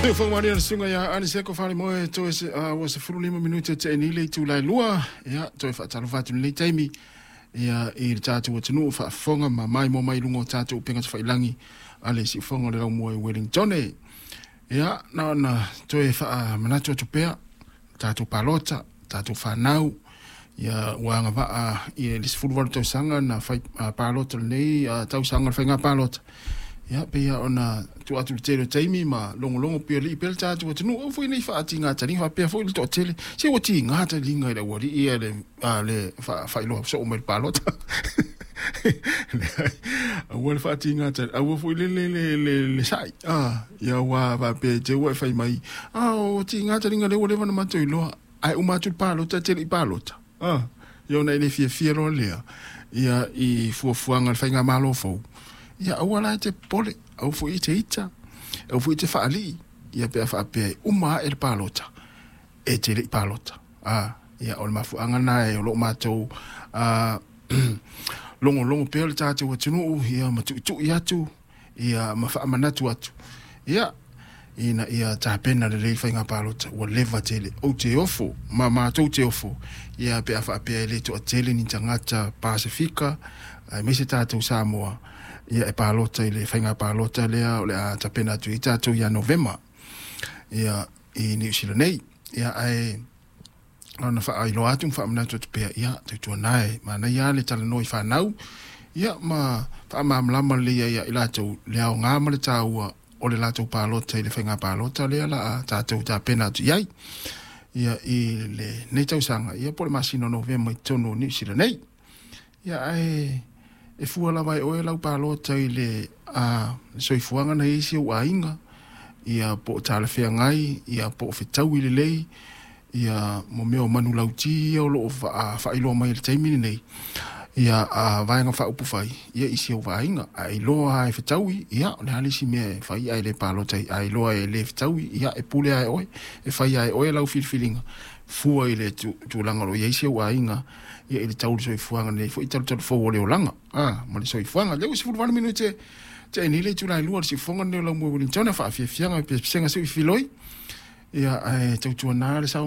Siufoga malie le susuga ia Aniseko Falemoe toe ua 15 minute te'i nei le itula e 2. Ia, toe faatalofa atu i lenei taimi, ia, i le tatou atunuu faafofoga ma maimoa mai i luga o tatou upega tafailagi a le siufoga o le laumua i Wellington. Ia, na ona toe faamanatu atu pea tatou palota, tatou fanau, ia, ua agavaa i le 18 tausaga na fai palota lenei tausaga o le faiga palota. Ia, pei ona tuu atu le tele o taimi ma logologo pialii pea le tatou atunuu au foi nei faatigā taliga faapea foi le toatele se ua tigā taliga i le aualii ia le faailoa soo mai le palota. Aua le faatigā tali, aua foi le sa'i ia ua faapea te ua e fai mai o tigā taliga lea ua leva ona matou iloa, ae uma atu le palota te lei palota ia ona e le fiafia loa lea ia i fuafuaga le faigamalo fou. Ia, aua la e te popole, aua foi e te ita, aua foi e te faalii ia pe a faapea e uma ae le palota e te lei palota. Ia, o le mafuaaga lena e o loo matou logologo pea le tatou atunuu, ia, ma tuitui atu, ia, ma faamanatu atu, ia, ina ia tapena lelei faiga palota ua leva tele. Ou te ofo ma matou te ofo, ia, pe a faapea e le toatele ni tagata Pasefika aemaise tatou Samoa, ia, e palota i le faiga palota lea o le a tapena atu i tatou ia Novema, ia, i Niu Sila nei. Ia, ae ona faailoa atu ma faamanatu atu pea, ia, tautuana e manaia le talanoa i fanau, ia, ma faamalamalama lelei ai i latou le aoga ma le taua o le latou palota i le faiga palota lea la a tatou tapena atu i ai, ia, i lenei tausaga, ia, po o le masina o Novema i totonu o Niu Sila nei. Ia, ae e fua lava e oe lau palota i le soifuaga na i ai si ou aiga, ia, po o talafeagai, ia, po o fetaui lelei, ia, mo mea o manulauti ia o loo faailoa mai i le taimi lenei, ia, a vaega faaupufai, ia, i si ou vaaiga. A iloa e fetaui, ia, o le a le isi mea e fai ae le palota? A iloa e le fetaui, ia, e pule ae oe, e fai ae oe lau filifiliga fua i le tulaga o lo o i ai si ou aiga, ia, i le tau le soifuaga nei foi talutalu fou o le olaga ma le soifuaga lea ua 18 minute te'i nei le itula e 2. Le siufofoga lenei o Laumua Wellington faafiafiaga pesega seu filoi, ia, ae tautuana le sao.